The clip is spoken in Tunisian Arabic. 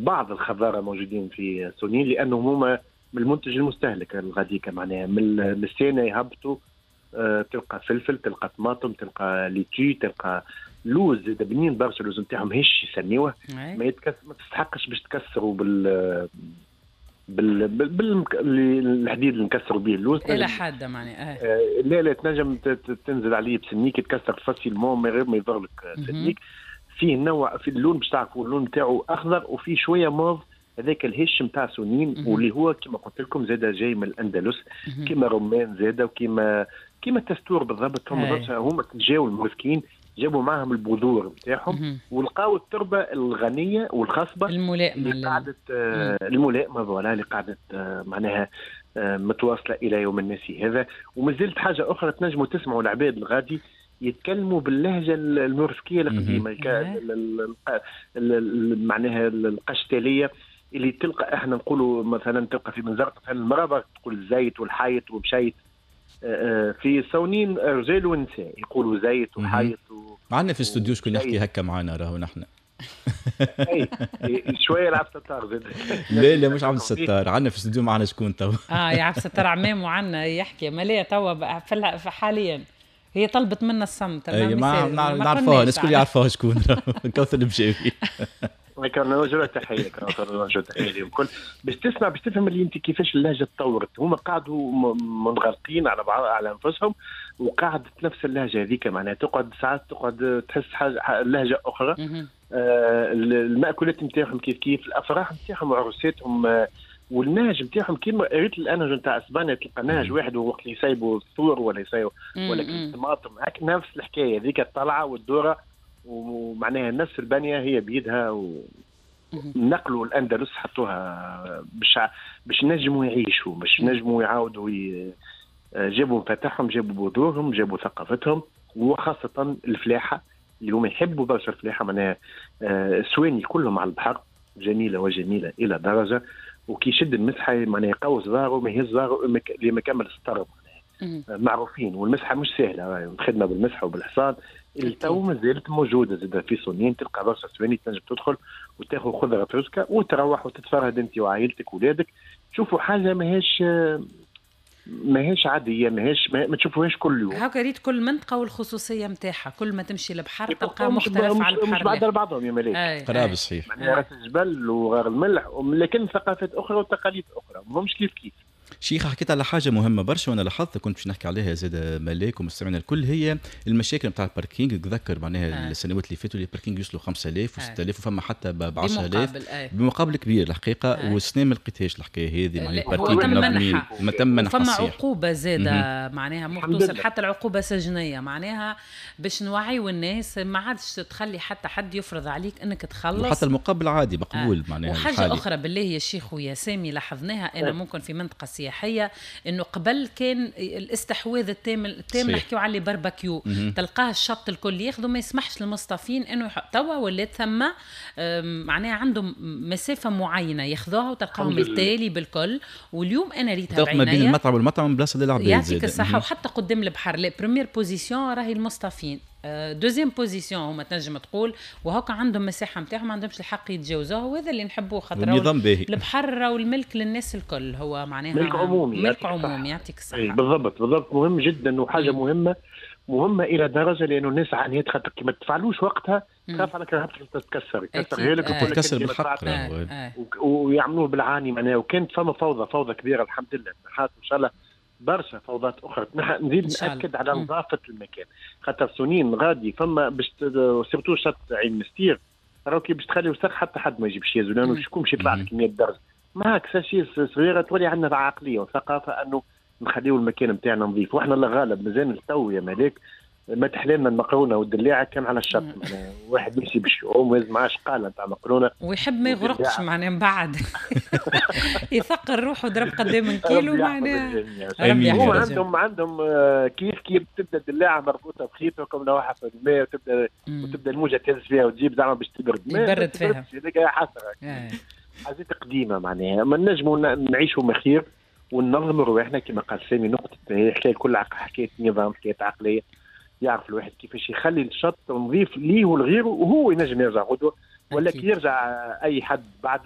بعض الخضاره موجودين في سونين، لانهم هما من المنتج المستهلك الغاديكا، معناها من السنة يهبطوا، تلقى فلفل، تلقى طماطم، تلقى litchi، تلقى لوز بنين برشا، اللوز نتاعهم هش يسميوه، ما يتكس، ما تستحقش باش تكسروا بال الحديد اللي نكسروا به اللوز. إلى حادة معناها. لا لا، تنجم تنزل عليه بسنيك تكسر facilement من غير ما يضر لك سنيك. فيه نوع في اللون باش تعرفوا اللون نتاعو اخضر وفيه شوية موف، هذاك الهش نتاع سنين، واللي هو كما قلت لكم زاد جاي من الاندلس، كما رمان زاد وكما التستور بالضبط. هم جاوا المورسكيين جابوا معهم البذور نتاعهم ولقاو التربة الغنية والخصبه الملائمه. اللي قعدت الملائمه، voilà، اللي قعدت معناها متواصلة الى يوم الناس هذا. ومازلت حاجة اخرى، تنجموا تسمعوا العباد الغادي يتكلموا باللهجة المورسكيه القديمه، معناها القشتاليه، اللي تلقى احنا نقولوا مثلا تلقى في بنزرت مثلا المرأة تقول الزيت والحيط ومشيت، في صونين رجال ونساء يقولوا زيت وحيط. معنا في الاستوديو شكون يحكي هكا معنا راهو نحن. اي شوية لعب ستار زاد. لا لا، مش عبد الستار، عندنا في الاستوديو معنا شكون تو. اه يا عبد الستار عمام وعنا يحكي مالية توا حاليا هي طلبت منا الصمت. اي ما نعرفوها، الناس الكل يعرفوها شكون، كوثر البجاوي. كان نوجه تحيه، كان نوجه تحية لهم الكل، باش تسمع باش تفهم اللي انت كيفاش اللهجة تطورت. هما قعدوا منغلقين على بعض على انفسهم وقعدت نفس اللهجة هذيك، معناها تقعد ساعات تقعد تحس حاجة لهجه اخرى. المأكولات نتاعهم كيف كيف، الافراح نتاعهم وعروساتهم، والنهج نتاعهم كيما ريت الانهج نتاع اسبانيا، تلقى نهج واحد وقت اللي يسيبوا الثور ولا يسيبوا ولا الطماطم، هاك نفس الحكاية هذيك، الطلعة والدوره، ومعناها نفس البنية هي بيدها. و نقلوا الاندلس حطوها باش نجموا يعيشوا، باش نجموا يعاودوا جابوا مفاتحهم، جابوا بذورهم، جابوا ثقافتهم، وخاصة الفلاحة اللي هم يحبوا برشا الفلاحه. معناها السواني كلهم على البحر، جميلة وجميلة الى درجه، وكي يشد المسحة معناها يقوس ظهره، ما يهز ظهره لما كمل السطر. معروفين، والمسحه مش سهله، الخدمة بالمسحه وبالحصان اللي تو مازالت موجودة زاد في صونين. تلقى برشا سواني تنجم تدخل وتاخذ خضرة فريسكا وتروح وتتفرهد انت وعائلتك وولادك، تشوفوا حاجة ماهيش عاديه، ماهيش ما تشوفوهاش كل يوم. هاكا ريت كل منطقة والخصوصيه نتاعها، كل ما تمشي للبحر تلقاه مختلف على البحر. مش بعد بعضهم يا ملاك. قراب صحيح. معناها راس الجبل وغار الملح، لكن ثقافات اخرى وتقاليد اخرى، ماهمش كيف كيف. شيخ، حكيت على حاجة مهمة برشا وانا لاحظت كنت باش نحكي عليها زاد ملاك ومستمعينا الكل، هي المشاكل نتاع ال parking. تذكر معناها السنوات اللي فاتوا ال parking يوصلوا 5000 و6000 وفما حتى ب 10000 بمقابل كبير الحقيقه. والسنة ما لقيتهاش الحكاية هذه، معناها ال parking منظمين. ما تم منح. فما عقوبه زاده، معناها توصل حتى العقوبة سجنيه، معناها باش نوعيو الناس ما عادش تخلي حتى حد يفرض عليك انك تخلص. وحتى المقابل عادي مقبول. معناها وحاجه الحالي. اخرى بالله يا شيخ ويا سامي لاحظناها انا ممكن في منطقة سياحيه، انه قبل كان الاستحواذ التام التام، نحكيو على بارباكيو، تلقاه الشط الكل ياخذوا، ما يسمحش للمصطافين انه توا ولات ثم معناها عندهم مسافة معينة ياخذوها وتلقاهم التالي بالكل. واليوم انا ريتها ما بين المطعم والمطعم بلاصة للعباد. يعطيك الصحه. وحتى قدام البحر la première position راهي المصطافين، deuxième position هما تنجم تقول، وهكا عندهم مساحة نتاعهم ما عندهمش الحق يتجاوزوها، وهذا اللي نحبوه خاطر النظام باهي. البحر والملك للناس الكل، هو معناها ملك عمومي. ملك عمومي، يعطيك الصحه. بالضبط بالضبط، مهم جدا وحاجه مهمة مهمة الى درجه، لانه الناس عانيت خاطر كي ما تفعلوش وقتها تخاف على كرهبتك تتكسر، يكسرها لك. تتكسر بالحق. ويعملوه بالعاني معناها، وكانت فما فوضى فوضى كبيره. الحمد لله نحات، ان شاء الله برشا فوضات اخرى. نزيد ناكد على نظافة المكان، خاطر سنين غادي فما باش surtout شط عين مستير، راهو كي باش تخلي وسخ حتى حد ما يجيبش يهزو، لانه شكون باش يطلع لك 100 درجه معاك sachet صغيره. تولي عندنا عقلية وثقافة انه نخليو المكان نتاعنا نظيف، واحنا الله غالب مازال التو يا ملاك ما تحلالنا المقرونه والدلاعه كان على الشط، معناها واحد يمشي باش يعوم ويهز معاه شقاله نتاع مقرونه. ويحب ما يغرقش، معناها من بعد يثقل روحه ضرب قدام من كيلو معناها. ربي عندهم كيف كيف تبدا الدلاعه مربوطة بخيط وكم لوحة في الماء، وتبدا الموجه تهز فيها وتجيب زعما باش تبرد. يبرد فيها. هذيك حسرة، حاجات قديمه، معناها ما نجموا نعيشوا مخير وننظموا رواحنا كما قال سامي. نقطة هي حكاية كل حكاية نظام، حكاية عقليه، يعرف الواحد كيفاش يخلي الشط نظيف ليه ولغيره، وهو ينجم يرجع غدوه ولا كي يرجع اي حد بعده.